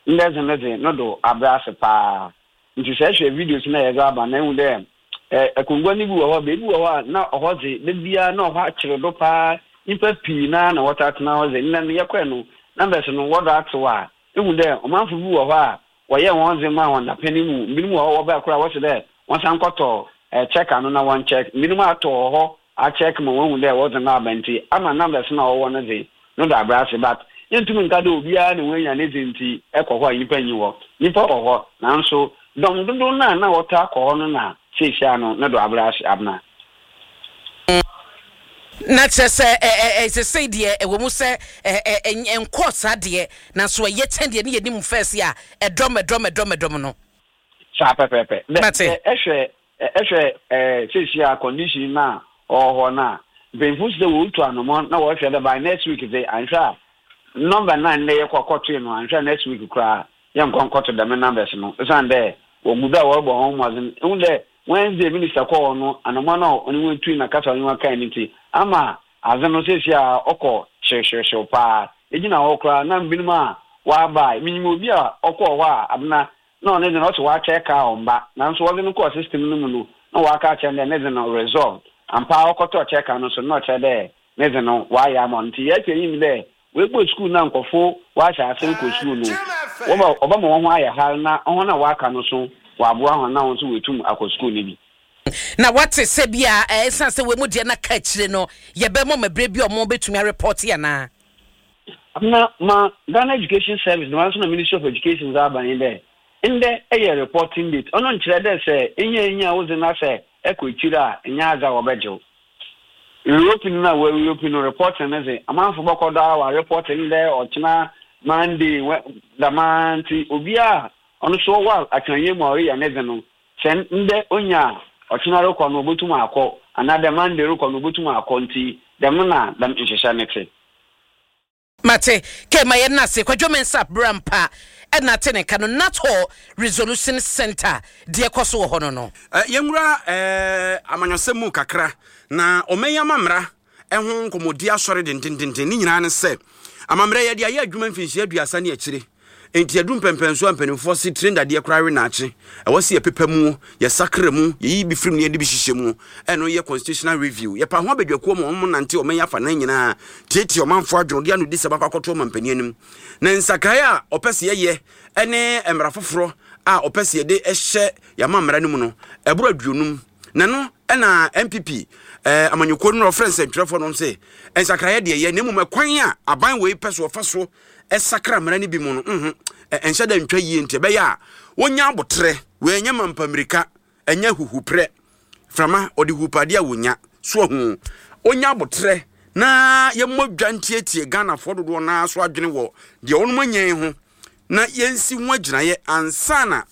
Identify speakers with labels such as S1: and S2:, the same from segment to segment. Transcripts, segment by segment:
S1: Ndɛ dze no dze, no do abrɛ ase paa. Ntsi sɛ ehwɛ videos no a yɛdze aba no a, ehu dɛ akongua no bi wɔ hɔ a, beebi wɔ hɔ a nna hɔ dze, da biara nna hɔ akyer do paa. Nyimpa pii noara na wɔtaa tsena hɔ dze. Ndɛ no yɛkɔe no, numbers no wɔdɔ atsew a, ehu dɛ ɔmamfo bi wɔ hɔ a wɔyɛɛ hɔn dze maa hɔn dapɛn yi mu. Binom wɔ hɔ wɔbae koraa a wɔse dɛ wɔnsan nkɔtɔ checker no na wɔncheck. Binom atɔ wɔ hɔ acheck ma woehu dɛ wɔdze no aba ntsi ama numbers no a ɔwɔ no dze no do abrɛ ase but yenntum nnka dɛ obiara na oenya ne dze ntsi ekɔ hɔ a nyimpa nnyi hɔ. Nyimpa wɔ hɔ naaso dɔm dodow no a nna wɔtaa kɔ hɔ no na seseiara no no do abrɛ ase abna.
S2: Na kyerɛ sɛ ɛ ɛ ɛ sesei deɛ ɛwɔ mu sɛ ɛ ɛ ɛ ɛnkɔɔ saa deɛ nanso ɛyɛ kyɛn deɛ ne yɛnim first a ɛdɔm ɛdɔm ɛdɔm ɛdɔm no.
S1: Saa pɛpɛɛpɛ. Dɛ
S2: Mate.
S1: sɛ ɛhwɛ Ehwɛ sesei a condition no a ɔwɔ hɔ no a, mpanyimfo se dɛ worutu anamɔn na wɔrohwɛ dɛ by next week dze, annhwɛ a number no a ndɛ yɛkɔ kɔtoe no, annhwɛ a next week koraa yɛnnkɔ nnkɔto dɛm numbers no osiandɛ wogu do a wɔrobɔ hɔnho mbɔdzen. Ihu dɛ Wednesday minister kɔɔ hɔ no, anamɔn a ɔnye hɔn tui na kasa a ɔnye hɔn kae no ntsi, ama adze no sesei a ɔkɔ hyewhyewhyew paa. Egyina hɔ koraa na binom a wɔaba a, minyim obi a ɔkɔɔ hɔ a abena Nna ɔno dze no ɔse ɔakyɛr kaa ɔmmba, naaso wɔdze no kɔɔ system no mu no nna wɔaka akyerɛ no dɛ ne dze no resolved. Ampa ara ɔkɔtɔɔ kyɛɛka no so no nna ɔkyerɛ dɛ ne dze no wɔayɛ ama no. Ntsi yɛtwe enyim dɛ woebue skuul no a nkorɔfo wɔahyɛ ase rokɔ skuul no, wɔba wɔbɛma hɔnho ayɛ har na hɔn a wɔaka no so wɔaboa hɔn na hɔn so woetum akɔ skuul no bi.
S2: Na wɔate sɛ bi a esiane sɛ wei mu deɛ na ka akyire no yɛbɛma wɔn berɛ bi a wɔbɛtumi arepɔte anaa?
S1: Na ma Ghana Education Service dɛmara so na Ministry of Education dze aba nye dɛ, ndɛ yɛ reporting date. Ɔno nnkyerɛ dɛ sɛ enye enyi a wodze na sɛ ekɔ ekyir a nnyɛ adze a wɔbɛgye wo. Reopening no a wɔareopen no, reporting no dze, amamfo bɔkɔ do ara wɔareport ndɛ, ɔkyena, Monday, dɛmara ntsi obiara a ɔno so ɔwɔ atweɔnyɛ mu a ɔreyɛ ne dze no, Sɛ ndɛ onya a, ɔkyena rokɔ no obotum akɔ, anaadɛ Monday rokɔ no obotum akɔ, ntsi dɛm na dɛm nhyehyɛɛ no tse.
S2: Mate. Kay ma yɛn ase. Kwadwo Mensah bra mpa na ate ne nka no Nuthall Resolution Centre deɛ ɛkɔ so wɔ hɔ no no.
S3: Yɛnwura amanyɔsɛm mu kakra na ɔman yi amammara ho nkɔmmɔdi asɔre dendendenden. Ne nyinaa ne sɛ, amammerɛ yɛde ayɛ adwuma mfinhyia aduasa ne akyire. Enti adu mpɛmpɛnso a mpanimfoɔ se tire dadeɛ koraa we naakye. Ɛwɔ sɛ yɛpepa mu, yɛsakra mu, yɛyi bi firi mu na yɛde bi hyehyɛ mu. Ɛno yɛ constitutional review. Yɛpa ho abadwakuo ma wɔn nante ɔman yi afanan nyinaa, tietie ɔmanfoɔ adwene, de anodisɛm akɔ akɔto ɔmampanin anim. Na nsakraeɛ a ɔpɛ sɛ yɛyɛ ne mmara foforɔ a ɔpɛ sɛ yɛde hyɛ yɛn amammara no mu no, ɛboro aduonum. Na ɛno na NPP eh, amanyɔkuo no na ɔfrɛ nsɛntwerɛfoɔ nom sɛ nsakraeɛ deɛ yɛ na mmom ɛkwan a aban wei pɛ so ɔfa so sakra mmara no bi mu no nho ɛnhyɛ da ntwa yie nti ɛbɛyɛ a wɔnya aboterɛ. Wei ɛnyɛ mampamirika, ɛnyɛ huhuprɛ frama ɔde hupadeɛ a wɔnya so ahu ɔnya aboterɛ na yɛmmɔ dwa ntietie Ghanafoɔ dodoɔ no ara so adwene wɔ deɛ wɔnom anya yi ho na yɛnsi ho agyinaeɛ ansa na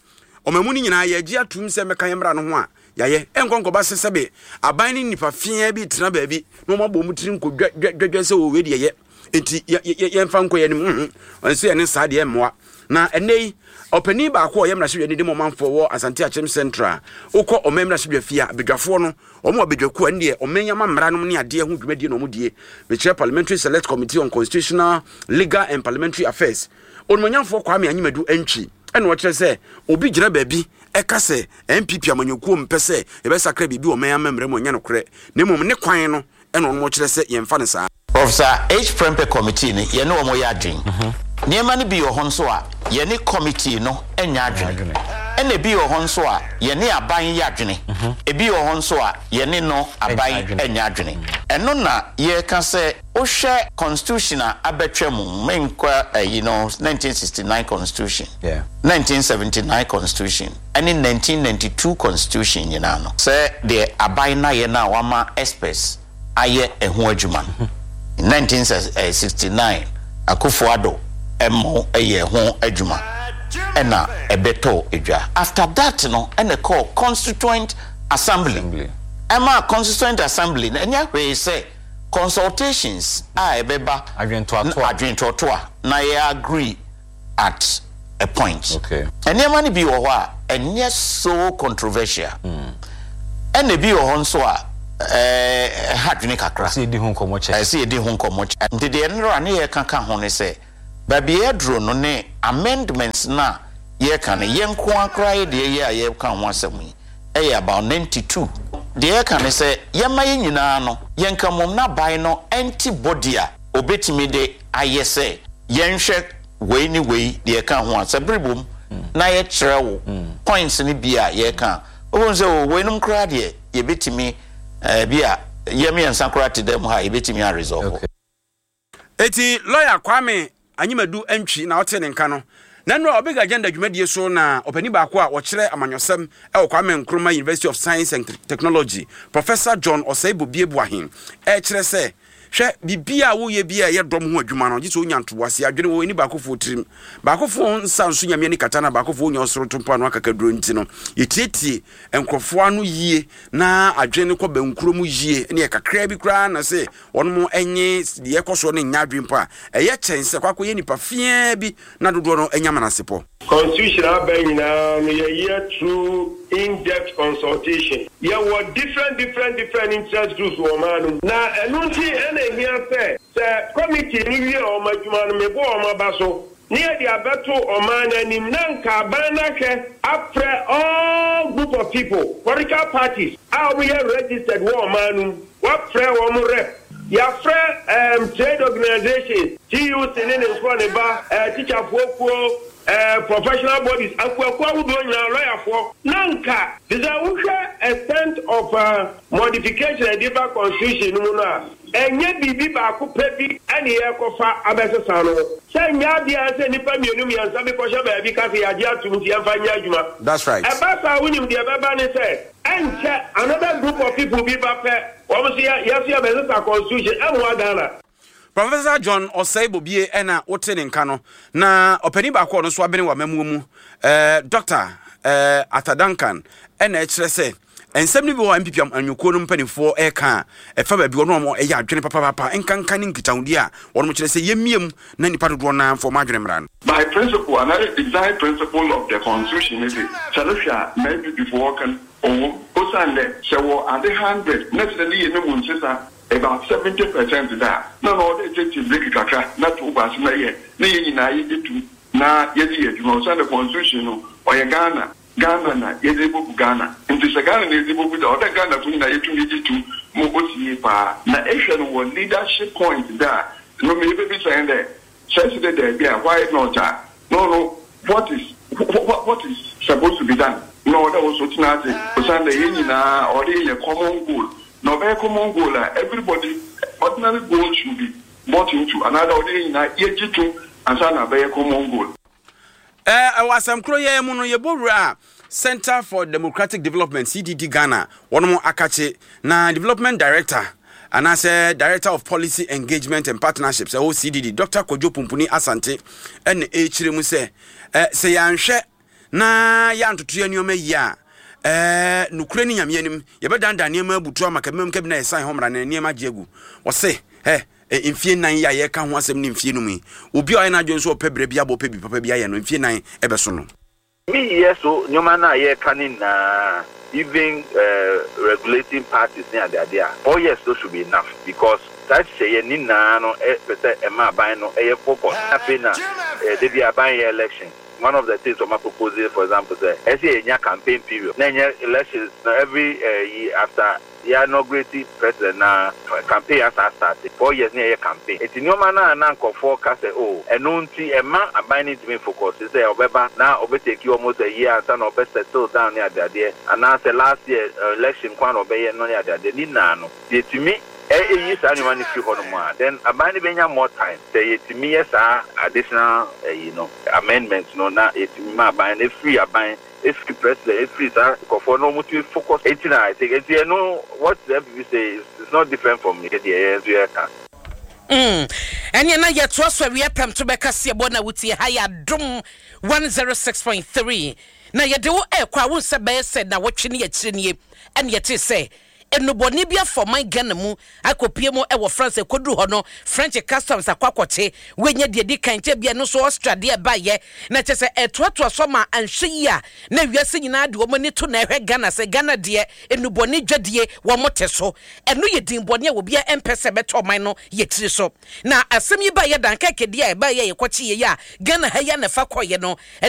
S3: ɔmamu no nyinaa yɛagye atum sɛ mmɛka yɛn mmara no ho a yɛayɛ. Ɛnkɔ nkɔba sɛ sɛbe aban ne nnipa feaa bi tena baabi na wɔabɔ wɔn tiri nkɔ dwa dwa sɛ wei deɛ yɛ nti yɛmfa nkɔ yɛn anim. Nhu ɛnso yɛne saa deɛ mmoa. Na ɛnnɛ yi ɔpanin baako a ɔyɛ mmarahyɛbadwani de ma ɔmanfoɔ wɔ Asante Akyem Central, wokɔ ɔman mmarahyɛbadwa fie a, badwafoɔ no wɔn wɔ badwakuo a ɛno deɛ ɔman yi ama mmara nom ne adeɛ ho dwumadie na wɔn die. Mekyerɛ Parliamentary Select Committee on Constitutional, Legal and Parliamentary Affairs. Onimonyamfoɔ Kwame Anyimadu Antwi ɛna ɔkyerɛ sɛ obi gyina baabi ɛka sɛ NPP amanyɔkuo mpɛ sɛ yɛbɛsakra biribi wɔ ɔman amammerɛ mu ɛnyɛ nokorɛ na mmom ne kwan no ɛna ɔnom ɔkyerɛ sɛ yɛmfa no saa.
S4: Professor H. Prempeh Committee no, yɛne wɔn yɛ adwene. Nneɛma no bi wɔ hɔ nso a, yɛne committee no nyɛ adwene. Ɛna ebi wɔ hɔ nso a, yɛne aban yɛ adwene. Ebi wɔ hɔ nso a, yɛne no aban nyɛ adwene. Ɛno na yɛreka sɛ wohwɛ constitution a abɛtwa mu, menkɔ ayi no, 1969 constitution, 1979 constitution, ɛne 1992 constitution nyinaa no, sɛ deɛ aban no ayɛ no a wɔama experts ayɛ ɛho adwuma no. In 1969, Akufo Addo mo yɛɛ ho adwuma ɛna ɛbɛtɔɔ dwa. After that no ɛna ɛkɔɔ Constituent Assembly. Ɛmaa Constituent Assembly no ɛnyɛ hwee sɛ consultations a ɛbɛba, adwentoatoa na yɛ agree at a point. Okay. Nneɛma no bi wɔ hɔ a ɛnyɛ so controversial. Ɛna ebi wɔ hɔ nso a ɛha adwene kakra.
S5: Ɛsɛ yɛdi ho nkɔmmɔ kyɛ.
S4: Ɛsɛ yɛdi ho nkɔmmɔ kyɛ. Nti deɛ nnora ne yɛka ka ho ne sɛ, Baabi a yɛaduru no ne amendments no a yɛreka no, yɛn nko ara koraa yɛ deɛ yɛ a yɛreka ho asɛm yi yɛ about 92. Deɛ yɛreka ne sɛ yɛmma yɛn nyinaa no yɛnka mmom na aban no nte body a ɔbɛtumi de ayɛ sɛ yɛnhwɛ wei ne wei deɛ ɛka ho a, sɛ bere bom na yɛkyerɛ wo points no bi a yɛreka a, wobɛhu sɛ oh weinom koraa deɛ yɛbɛtumi bi a yɛn mmiɛnsa koraa te dan mu ha a yɛbɛtumi a resolve.
S3: Eti lɔya Kwame Anyimadu Antwi na ɔtee ne nka no. Na nnora Ɔbig Agenda dwumadie so na ɔpanin baako a ɔkyerɛ amanyɔsɛm wɔ Kwame Nkrumah University of Science and Technology, Professor John Osei Bobie Boahen rekyerɛ sɛ, Hwɛ, biribiara a woyɛ biara a ɛyɛ dɔm ho adwuma no, gye sɛ wonya ntoboaseɛ, adwene wɔ ani baakofoɔ tirim. Baakofoɔ nsa nso Nyame ani kata na baakofoɔ nnya ɔsoro to mpoano akakaduro nti no, yɛtietie nkurɔfoɔ ano yie na adwene no kɔ bɛnkuro mu yie, ɛneɛ kakraa bi koraa na sɛ wɔnom nye deɛ ɛkɔ soɔ no nnya adwene mpo a, ɛyɛ kyɛn sɛ kɔ akɔyɛ nnipa feaa bi na dodoɔ no anya menasepɔ.
S5: Constitution aba nyinaa no yɛyɛ through in depth consultation. Yɛwɔ different different different interest groups wɔ ɔman no mu. Na ɛno nti na ɛhia sɛ, sɛ committee no wie wɔn adwuma no, mebɔ wɔn aba so na yɛde abɛto ɔman no anim na nka aban no ahwɛ afrɛ all group of people, political parties a wɔyɛ registered wɔ ɔman no mu, wɔafrɛ wɔn rep, yɛafrɛ um, trade organisations, TUC ne ne nkorɔ ne ba, uh, tikyafoɔ kuo, uh, professional bodies, akuakuo ahodoɔ nyinaa, lɔyafoɔ, na nka te sɛ wohwɛ extent of uh, modification a ɛde ba constitution no mu no a, Ɛnyɛ biribi baako pɛ bi na yɛrekɔfa abɛsesa no. Sɛ ɛnyɛ adeɛ a ɛsɛ nnipa mmienu mmiɛnsa bi kɔhyɛ baabi ka sɛ yɛagye atom nti yɛmfa nyɛ adwuma.
S3: That's right.
S5: Ɛba saa a wonim deɛ ɛbɛba ne sɛ, ɛnkyɛ another group of people bi ba pɛ, wɔn nso yɛ yɛn nso yɛbɛsesa constitution. Ɛmmoa Ghana.
S3: Professor John Osei Bobie na wote ne nka no, na ɔpanin baako a ɔno nso abene wɔ amammuo mu, eh, Dr. Eh, Arthur Duncan, ɛna ɛkyerɛ sɛ Nsɛm no bi wɔ hɔ a NPP amanyɔkuo no mpanimfoɔ reka a, ɛfa baabi wɔn a wɔyɛ adwene papaapa nkanka ne nkitahodie a wɔn kyerɛ sɛ yɛmmia mu na nnipa dodoɔ no ara mfa wɔn adwene mmra no.
S6: By principle anaadɛ design principle of the constitution ne dze, sɛ no hwɛ a ma NPP fo wɔka no ɔwɔ mu osiandɛ sɛ wɔ adze hundred na sɛ ne yɛ no mu nsesa about 70% dze a, nna ɔwɔ dɛ etsetse breki kakra na to wo bo ase na yɛ na hɛn nyinaa yɛgye to mu na yɛdze yɛ edwuma osiandɛ constitution no ɔyɛ Ghana Ghana na yɛdze ebogu Ghana. Ntsi sɛ Ghana na yɛdze bogu dze a, ɔwɔ dɛ Ghanafo nyina yetum yɛgye to mu ma osi yie paa. Na ehwɛ no wɔ leadership point dze a, no me yebebisa hɛn dɛ, sɛ ese dɛ daabi a, why not a? No no, what is what is supposed to be done? Na ɔwɔ dɛ wo so tsena ase osiandɛ hɛn nyina ɔwɔ dɛ yenya common goal. Na ɔbɛyɛ common goal a, everybody ordinary goal should be bought into anaadɛ ɔwɔ dɛ hɛn nyina yɛgye to ansaana abɛyɛ common goal.
S3: Ɛɛ, wɔ asɛm koro yi ara mu no, yɛbɔ wura Centre for Democratic Development, CDD Ghana, wɔnom akakye, na Development Director anaasɛ Director of Policy Engagement and Partnerships ɛwɔ CDD, Dr. Kojo Pumpuni Asante, ɛna ɛrekyerɛ mu sɛ, ɛ, sɛ yɛanhwɛ na yɛantoto yɛn nneɛma yie a, ɛɛ, nokorɛ ne Nyame anim, yɛbɛdandan nneɛma abutu ama kabimam kabina yɛsan hɔ mmara na nneɛma agye agu. Wɔse, ɛ, Mfie nnan yi a yɛreka ho asɛm ne mfie num yi, obi a ɔyɛ n'adwene sɛ ɔpɛ berɛ bi abɔ ɔpɛ biribi papa bi ayɛ no, mfie nnan bɛso no.
S7: Me yɛ so nneɛma no a yɛreka no nyinaa even regulating parties ne adeade a, 4 years no should be enough because saa nhyehyɛeɛ ne nyinaa no pɛ sɛ ɛma aban no yɛ focus. Afei na da biara aban yɛ election, one of the things wɔn apropose for example sɛ ɛsɛ sɛ yɛnya campaign period na ɛnyɛ elections no every yi after Yɛ inaugurate president na campaign asan astarte, 4 years na yɛyɛ campaign. Nti nneɛma no a na nkurɔfoɔ ka sɛ oh ɛno nti ɛmma aban no ntumi nfocus sɛ ɔbɛba na ɔbɛ take almost a year ansa na ɔbɛ settle down ne adeadeɛ anaasɛ last year election nko ara na ɔbɛyɛ no ne adeadeɛ ne nyinaa no sɛ yɛtumi yi saa nneɛma no firi hɔ nom a then aban no bɛnya more time sɛ yɛtumi yɛ saa additional ɛyi no amendment no na yɛtumi ma aban no ɛfiri aban Efiri president efiri saa nkorɔfoɔ no wɔn tumi focus eti na I think eti ɛno what the NPP say is is not different from yɛ deɛ yɛn nso yɛ ka.
S2: Mm, ɛneɛ na yɛtoa so awia prɛmto bɛka seɛbɔ na wotie ha yɛ Adom 106.3 na yɛde wo ɛrekɔ a wo nsɛ bɛyɛ sɛ nawɔtwe ne akyire nie ɛne yɛtee sɛ. Nnubɔne bi afa ɔman Ghana mu akɔpue mu wɔ France ɛkɔduru hɔ no French customs akɔ akɔkye wei nyɛ deɛ ɛdi kan nkyɛ bia ɛno nso Austria deɛ ɛbaeɛ na kyerɛ sɛ ɛtoatoa so ama anhwɛ yie a na wiase nyinaa de wɔn ani to na ɛhwɛ Ghana sɛ Ghana deɛ nnubɔne dwadie wɔn te so ɛno yɛ din bɔne a obiara ɛmpɛ sɛ ɛbɛtɔ ɔman no yɛ tiri so na asɛm yi baeɛ Dunkirk deɛ a ɛbaeɛ a yɛkɔkyeeɛ yi a Ghana ha yi a na ɛfa kɔeɛ no ɛde.